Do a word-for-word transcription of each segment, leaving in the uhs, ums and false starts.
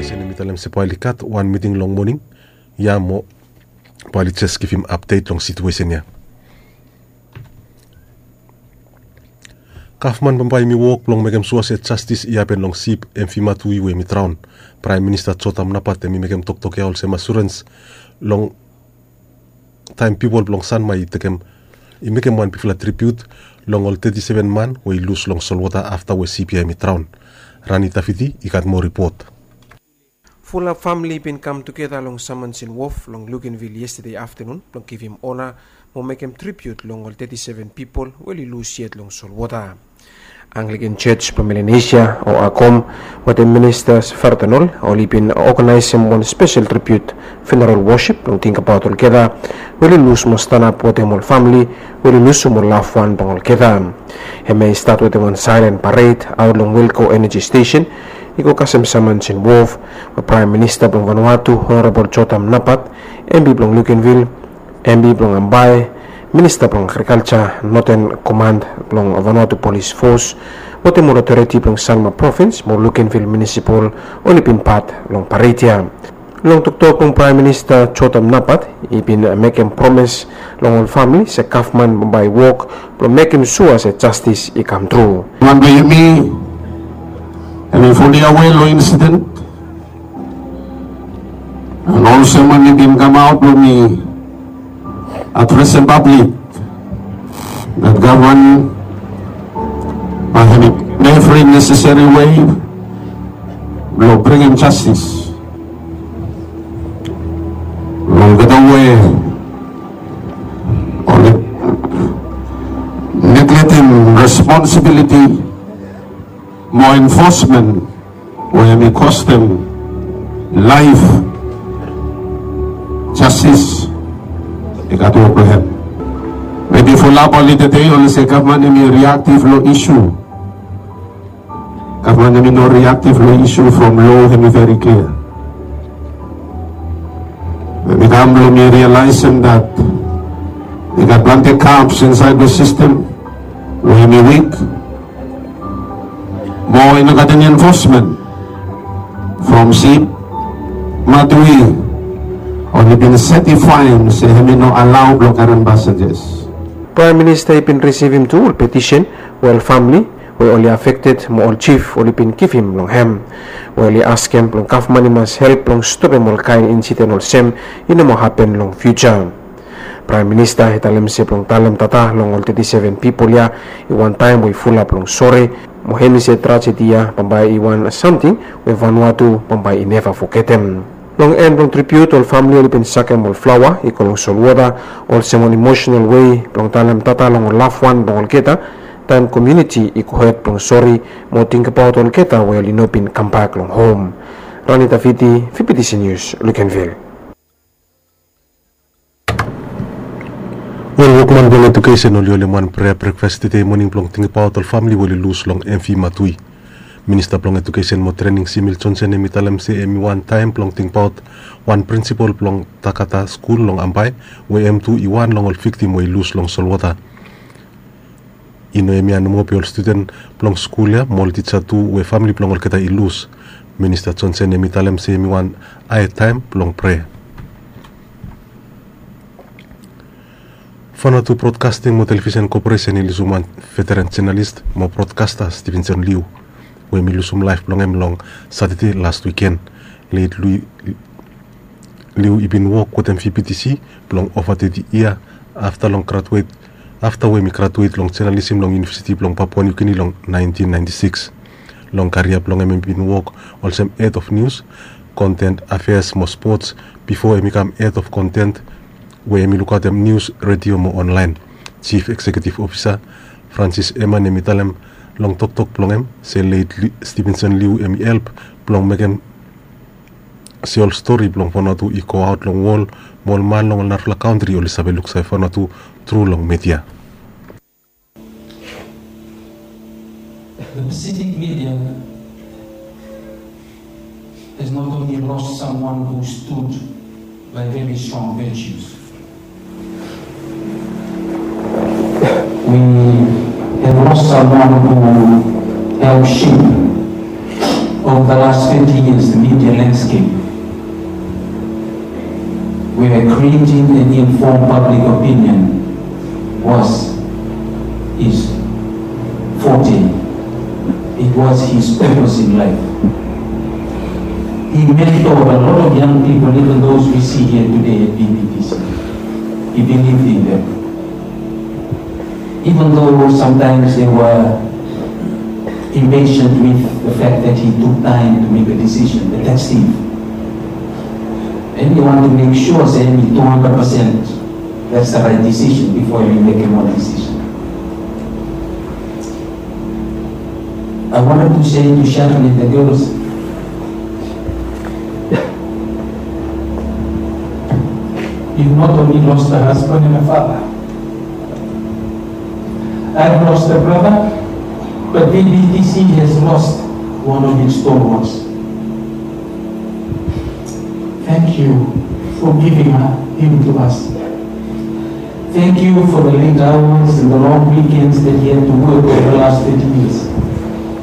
Sen em i talem se bae oli gat wan miting long moning ya mo bae oli jes givim apdet long situesen ya. Gavman bambae hem i wok blong mekem sua se jastis i hapen long sip Emfi Matui we hem i draon. Praem Minista Jotam Napat hem i mekem toktok ya olsem asurens long taem pipol blong Sanma i tekem i mekem wan bigfala tribiut long ol teti seven man we i lus long solwota afta we sip ya hem i draon. Rani Tafiti i gat moa ripot. Fulap famili i bin kam tugeta long Samansin Wof long Lukenvil yestade aftanun blong givim ona mo mekem tribiut long ol teti seven pipol we oli lus yet long solwota. Anglikan Jos blong Melanesia o Akom wetem Minista Fardenol oli bin oganaesem wan spesel tribiut funeral wosip blong tingbaot olgeta we oli lus mo stanap wetem ol famili we oli lusum ol lafwan blong olgeta. Hemia i stat wetem wan saelen pared aot long Wilco Energy Station i go kasem Samansin Wof we Praem Minista blong Vanuatu Honorabol Jotam Napat, M P blong Lukenvil, M P blong Ambae, Minista blong Agrikalja, Noten Komand blong Vanuatu Polis Fos wetem ol otoriti blong Sanma Provins mo Lukenvil Munisipal oli bin pat long pared ya. Long toktok blong Praem Minista Jotam Napat i bin mekem promes long ol famili se gavman bambae i wok blong mekem sua se jastis i kam tru. Wan blong yumi hem i fuli awe long insiden and olsem wan i bin kamaot blong mi adresem pablik that gavman bae hem i evri neseseri wei blong bringim jastis long olgeta we oli negletem responsibiliti mo enfosmen we hem i kostem laef. Jastis i gat wok blong hem. Mebi fulap oli tede oli se gavman hem i riaktif long isu. Gavman hem i no riaktif long isu from lo hem i veri klia. Hem i kam blong mi rialaesem that i gat plante gaps insaed long sistem we hem i wik. Mo i no gat eni enfosmen from sip Matui oli bin setifaem se hem i no alao blong karem pasenjas. Praem Minista i bin risivim tu ol petisen we ol famili we oli afekted mo ol jif oli bin givim long hem we oli askem blong gavman i mas help blong stopem ol kaen insiden olsem i no moa hapen long fiuja. Praem Minista i talem se blong talem tata long ol teti seven pipol ya i wan taem we i fulap long sore mo hem i se trajedi ya bambae i wan samting we Vanuatu bambae i neva fogetem. Long en blong tribiut ol famili oli bin sakem ol flaoa i go long solwota olsem wan emosenal wei blong talem tata long ol lafwan blong olgeta taem komuniti i gohed blong sore mo tingbaot olgeta we oli no bin kambak long hom. Rani Tafiti, V B T C News, Lukenvil. Ol wokman blong edukesen oli holem wan prea brekfas tede moning blong tingbaot ol famili we oli lus long Emfi Matui. Minista blong Edukesen mo Trening Simil Jonsen hem i talem se hem i wan taem blong tingbaot wan prinsipol blong Takata skul long Ambae we hem tu i wan long ol viktim we i lus long solwota. I no hemia nomo be ol studen blong skul ya mo ol tija tu we famili blong olgeta i lus. Minista Jonsen hem i talem se hem i wan hae taem blong prea. Vanuatu Broadcasting mo Television Corporation i lusum wan veteran jonalis mo brodkasta Stevenson Liu we hem i lusum laef blong hem long Satade las wiken. Leit Liu i bin wok wetem V B T C blong ova teti yia afta long graduet afta we hem i graduet long jonalisim long Univesiti blong Papua New Guinea long naentin naenti sikis. Long karia blong hem hem i bin wok olsem hed of nius, konten afeas mo spots bifo hem i kam hed of konten we hem i lukaotem nius, redio mo onlaen. Jif Ekseketif Ofisa Francis Eman hem i talem long toktok blong hem se leit Stevenson Liu hem i help blong mekem se ol stori blong Vanuatu i goaot long wol mo ol man long ol narafala kantri oli save luksave Vanuatu tru long media. The Pacific media has not only lost someone who stood by very strong virtues, we have lost someone who helped shape Over the last twenty years, the media landscape where creating an informed public opinion was his forte. It was his purpose in life. He mentored a lot of young people, even those we see here today at B B T C. He believed in them. Even though sometimes they were impatient with the fact that he took time to make a decision, but that's him. And you want to make sure say hemi two hundred percent that's the right decision before you make a more decision. I wanted to say to Sharon and the girls, you not only lost a husband and a father, I've lost a brother, but B B T C has lost one of its stalwarts. Thank you for giving her, him to us. Thank you for the late hours and the long weekends that he had to work over the last thirty years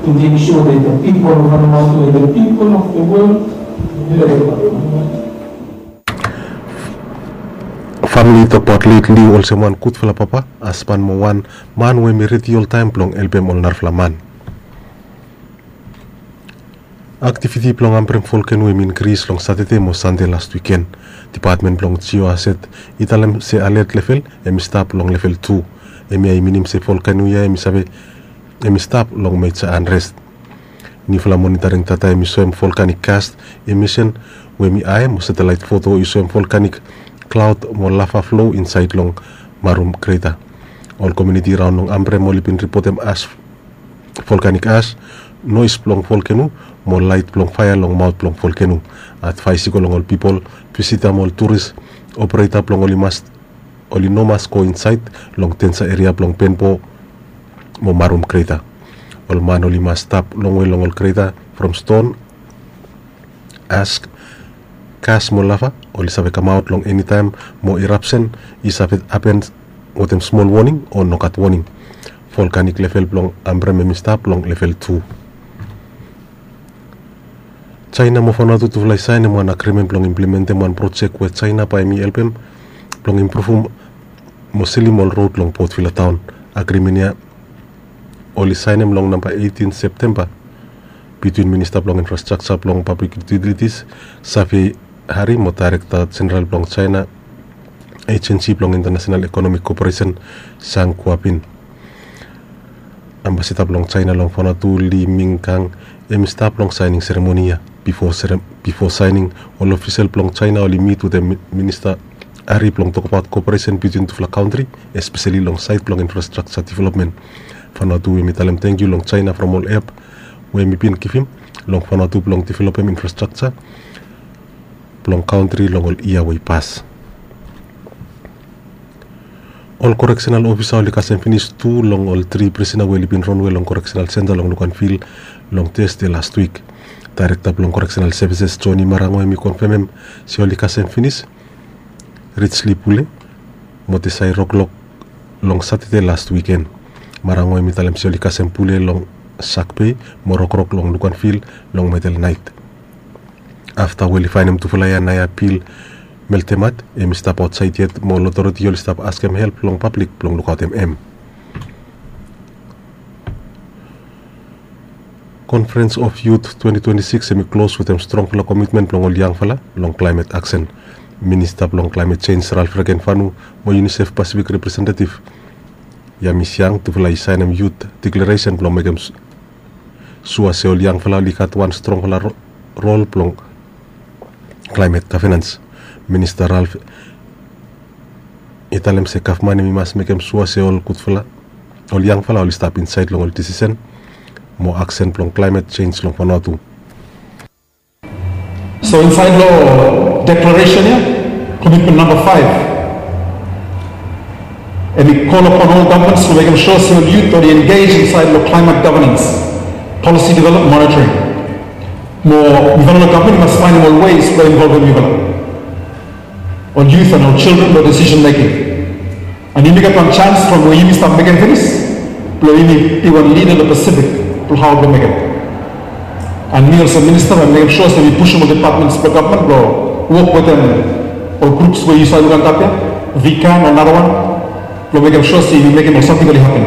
to make sure that the people of Vanuatu and the people of the world heard about Vanuatu. Famili i tokbaot let Liu olsem wan gudfala papa, hasban mo wan man we hemi redi oltaem blong helpem ol narafala man. Aktiviti blong Ambrem volkeno hemi inkris long Satade mo Sande las wiken. Dipatmen blong Jio Hazard i talem se alet level hemi stap long level tu. Hemia i minim se volkeno ia hemi save hemi stap long meja anres. Niufala monitoring data hemi soem volkanik gas imisen we hemi hae mo satelaet foto i soem volkanik klaod mo lava flo insaed long Marum kreta. Ol komuniti raon long Ambrem oli bin ripotem as volkanik as, noes blong volkeno mo laet blong faea long maot blong volkeno. Advaes i go long ol pipol, visita mo ol turis opereta blong oli mas oli no mas go insaed long denja eria blong Benbo mo Marum kreta. Ol man oli mas stap longwe long ol kreta from ston, as, gas mo lava oli save kamaot long enitaem mo irapsen i save hapen wetem smol woning o nogat woning. Volkanik level blong Ambrem hemi stap long level tu. Jaena mo Vanuatu tufala i saenem wan agrimen blong implementem wan projek we Jaena bae hemi helpem blong impruvum mo silim ol rod long Port Vila taon. Agrimen ia oli saenem long namba eitin Septemba bitwin Minista blong Infrastrakja blong Pablik Yutilitis, Safi Hari, mo Daerekta Jeneral blong Jaena Ejensi blong Intanasenal Ekonomik Koperesen, Zhang Guoping. Ambasada blong Jaena long Vanuatu, Li Minggang, hemi stap long saening seremoni ia. Bifo serem-, bifo saening, ol ofisel blong Jaena oli mit wetem mi-, Minista Hari blong tokbaot koperesen bitwin tufala kantri, espeseli long saed blong infrastrakja developmen. Vanuatu hemi talem tangkiu long Jaena from ol help we hemi bin givim long Vanuatu blong developem infrastrakja blong kantri long ol yia we i pas. Ol koreksenal ofisa oli kasem finis tu long ol tri prisena we oli bin ronwe long koreksenal senta long Luganville long Tasde lastwik. Daerekta blong Koreksenal Sevises, Johnny Marango, hemi konfemem se oli kasem finis Richly Pule mo Tesai Roklok long Satade las wiken. Marango hemi talem se oli kasem Pule long Shark Bay mo Roklok long Luganville long medel naet. Afta we oli faenem tufala ia, naoia Bill Meltemat hemi stap aotsaed yet mo ol otoriti oli stap askem help long pablik blong lukaotem hem. Conference of Youth twenty twenty-six hemi klos wetem strongfala komitmen blong ol yangfala long klaemet aksen. Minista blong Klaemet Jenj, Ralph Regenvanu, mo UNICEF Pacific Representative Yamis Yang, tufala i saenem Youth Declaration blong mekem s-, sua se ol yangfala oli gat wan strongfala ro-, rol blong klaemet gavenans. Minista Ralph i talem se gavman hemi mas mekem sua se ol gudfala, ol yangfala oli stap insaed long ol desisen mo aksen blong klaemet jenj long Vanuatu. So insaed long deklaresen ia, komitmen namba faef, hemi kol apon ol gavman blong mekem sua se ol yut oli engej insaed long klaemet gavenans, polisi developmen, monitoring. Mo yufala long gavman i mas faenem ol ways blong involvem yufala, ol yut and ol jildren, long desisen meking. And yumi gat wan janis from we yumi stap mekem finis blong yumi be wan lida long Pasifik blong hao blong mekem. And mi olsem minista bae mi mekem sua se mi pusim ol depatments blong gavman blong wok wetem ol grups we yu save luk antap ya, vikan o narawan, blong mekem sua se yu mekem ol samting oli hapen.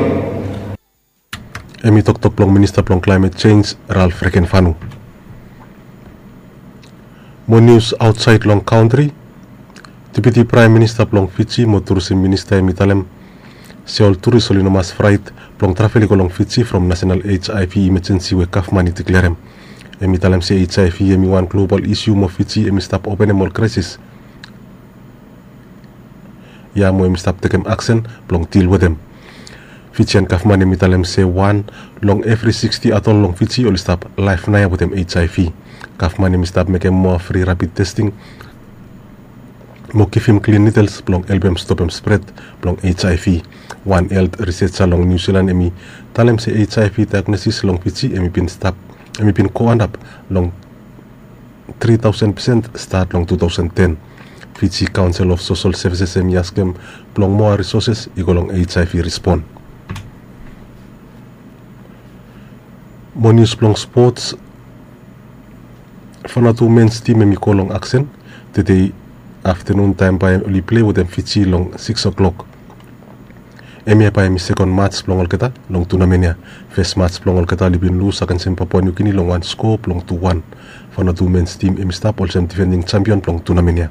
Hem i toktok blong minista blong klaemet jenj, Ralph Rekenfanu. Mo nius aotsaed long kantri. Deputi Praem Minista blong Fiji mo turisim minista hem i talem se ol turis oli no mas fraet blong travel i go long Fiji from nasenal HIV imajensi we gavman i diklerem. Hem i talem se HIV hem i wan global isiu mo Fiji hem i stap openem ol kraesis ya mo hem i stap tekem aksen blong dil wetem. Fijian gavman hem i talem se wan long evri siksti adol long Fiji oli stap laef naoia wetem HIV. Gavman hem i stap mekem moa fri rapid testing mo givim klin nidels blong helpem stopem spred blong HIV. Wan helt riseja long Niu Silan hem i talem se HIV daegnosis long Fiji hem i bin stap hem i bin go antap long tri taosen pesen stat long tu taosen ten. Fiji Council of Social Services hem i askem blong moa risoses i go long HIV rispon. Mo nius blong spots. Fanatu mens tim hem i go long aksen tede aftenun taem bae oli plei wetem Fiji long sikis oklok. Hemia bae hem i sekon mats blong olgeta long tunamen ya. Fes mats blong olgeta oli bin lus agensem Papua Niu Gini long wan sko blong tu wan. Fanatu mens tim hem i stap olsem difending jampion blong tunamen ya.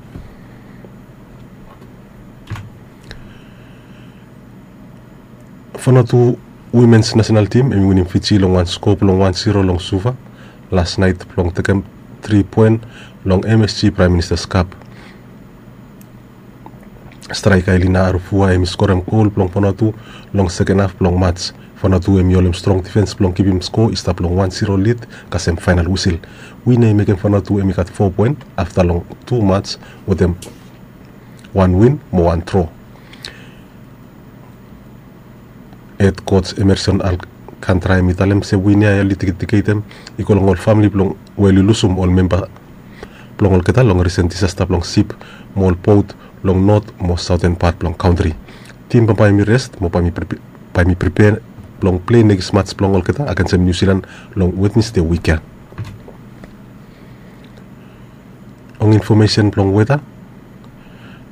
Fanatu wimens nasenal tim hem i winim Fiji long wan sko blong wan siro long Suva las naet blong tekem tri poen long MSG Praem Ministas Kap. Straeka Elina Arufua hem i skorem gol blong Fanatu long seken haf blong mats. Fanatu hem i holem strong difens blong kipim sko i stap long wan siro lid kasem faenal wisil. Win ya i mekem Fanatu hem i gat fo poen afta long tu mats wetem wan win mo wan dro. Hed koj Emerson Alcantara hem i talem se win ya oli dediketem i go long ol famili blong we oli lusum ol memba blong olgeta long risen disasta blong sip mo ol bot long not mo saoten pat blong kantri. Tim bambae hem i res mo bae hem i pripea blong plei nekis mats blong olgeta agensem Niu Silan long Wednesde wik ya. Long infomesen blong weta,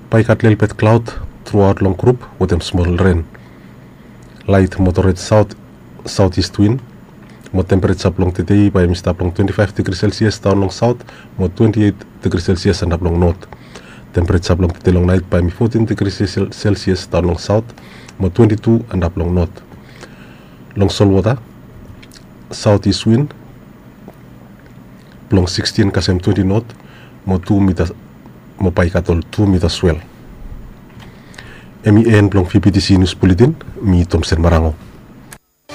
bae i gat lelebet klaod truaot long grup wetem smol ren. Laet moderate south southeast wind. Mo tempereja blong tede bae hem i stap long twenti faef digri selsias daon long saot mo twenti eit digri selsias antap long not. Tempereja blong tede long naet bae hem i fotin digri selsias daon long saot mo twenti tu antap long not. Long solwota, southeast wind blong sikstin kasem twenti not mo tu mita mo bae i gat ol tu mita swel. Hem i en blong VBTC nius buletin. Mi Tomsen Marango.